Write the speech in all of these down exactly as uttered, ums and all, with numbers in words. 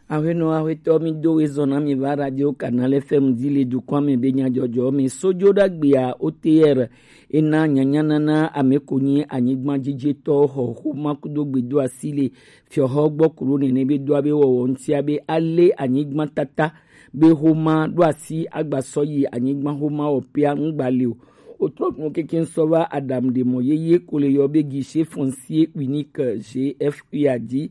Aƒenɔ, aƒetɔ, mi do we zɔn na mi va Radio Canal F M di le dukɔa me be nyajɔjɔ me. Sojo ɖagbea O T R ena nyanyanana ame ko nyi anyigba jijitɔ xɔ xoma kudo gbedo asi le fiɔxɔ gbɔ kuro nene be do abe wɔwɔ ŋutia be ale anyigba tata be xoma ɖo asi agba sɔ yi anyigba xoma wɔ pea ŋugba le o. Wotrɔ nu keke sɔ va Adam de mɔ yeye ko le yɔ be guichet foncier unique G F U a di.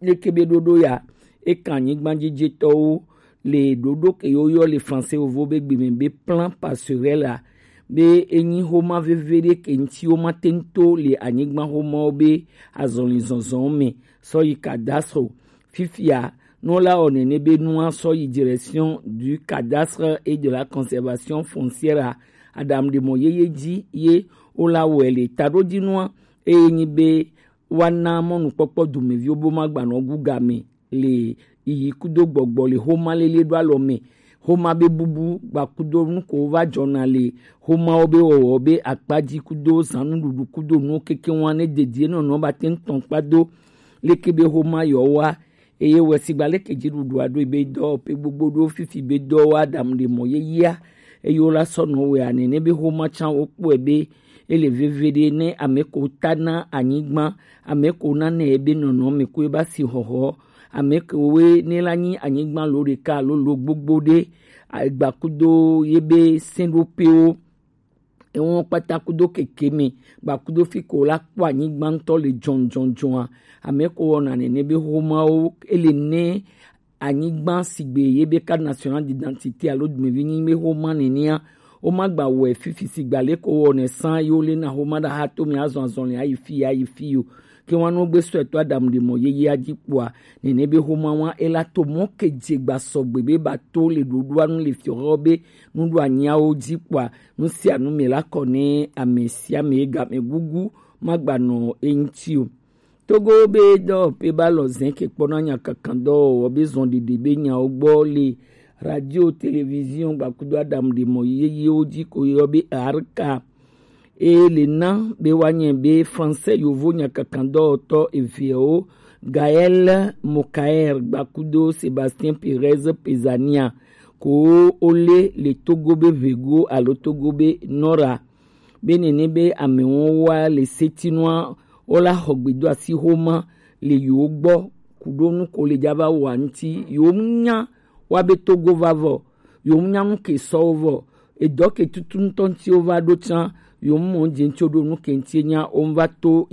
Leke be ɖoɖo ya, e kan anyigba jijitɔwo le ɖoɖo ke yo yɔ le français vovo be gbe me be plan passerelle a, be enyi xoma veve ɖe ke ŋuti wo ma te ŋu to le anyigba xomawo be azɔli zɔzɔ me sɔ yi cadastre o. Fifia, no la wɔ nene be nua sɔ yi direction du cadastre et de la conservation foncière a, Adam de mɔ yeye di ye wo la wɔe le taɖodzinua, eye nyi be woana mɔnukpɔkpɔ dumeviwo bo magbanɔ gu game le yiyi kudo gbɔgbɔ le xoma lele ɖo alɔ me. Xoma be bubu gbakudo nu ko va dzɔna le xomawo be wɔwɔ be akpadzi kudo zãnuɖuɖu kudo nuwo keke ŋua ne dedie nɔnɔ ba te ŋu tɔn kpado leke be xoma yɔ wa. Eye wɛ sigba leke dziɖuɖua ɖo be dɔ pe gbogbo ɖo fifi be dɔ wa ɖam ɖe mɔ yeyea. Eye wo la sɔ nɔ wɛ ane ne be xoma tsan wo kpɔe be ele veve ɖe ne ame ko ta na anyigba, ame ko na ne ebe nɔnɔ me ko eba si xɔxɔ, ame ko we ne la nyi anyigba lo ɖeka alo lo gbogbo ɖe, agba kudo ye be sɛn ɖo pewo. Ewo kpata kudo keke me gba kudo fi ko la kpɔ anyigba ŋutɔ le jɔnjɔnjɔa. Ame ko wɔna nene be xomawo ele ne anyigba sigbe ye be carte nationale d'identité alo dumevi nyi be xoma nenea, wo ma gba wɔe fifi sigba le ko wɔnɛ san yo le na xoma ɖa ha to me azɔn azɔn le ayi fi ayi fi yo. Ke wan no gbe sɔe to Adam de mɔ yeyea dzi kpɔa, nene be xoma wan ela to mɔ ke dze gba sɔgbe be ba to le ɖoɖoa nu le fiɔxɔ be nuɖoanyiawo dzi kpɔa, nu sia nu me la kɔ ne ame sia ame game gugu ma gba nɔ eŋuti o. Togo be dɔwɔƒe ba lɔ zɛn ke kpɔna nyakakan dɔwɔwɔ be zɔn ɖiɖi be nyawo gbɔ le radio, télévision gbakudo Adam de mɔ yeyewo dzi ko yɔ be arka. Eye le na be woanye be français yovo nyakakan dɔwɔtɔ eveawo Gaël Mokaer gbakudo Sébastien Pérez Pezania ko wole le Togo be ʋego alo Togo be nɔra. Be nene be amewo wa le setinua wola xɔ gbedo asi xoma le yewo gbɔ kudo nu ko le dza va wa ŋuti yewo nya wa be Togo va vɔ, yewo nya nu ke sɔwo vɔ, edɔ ke tutu ŋutɔ ŋuti wo va ɖo tsã, yewo mɔ dze ŋuti wo ɖo nu ke ŋuti nya wo va to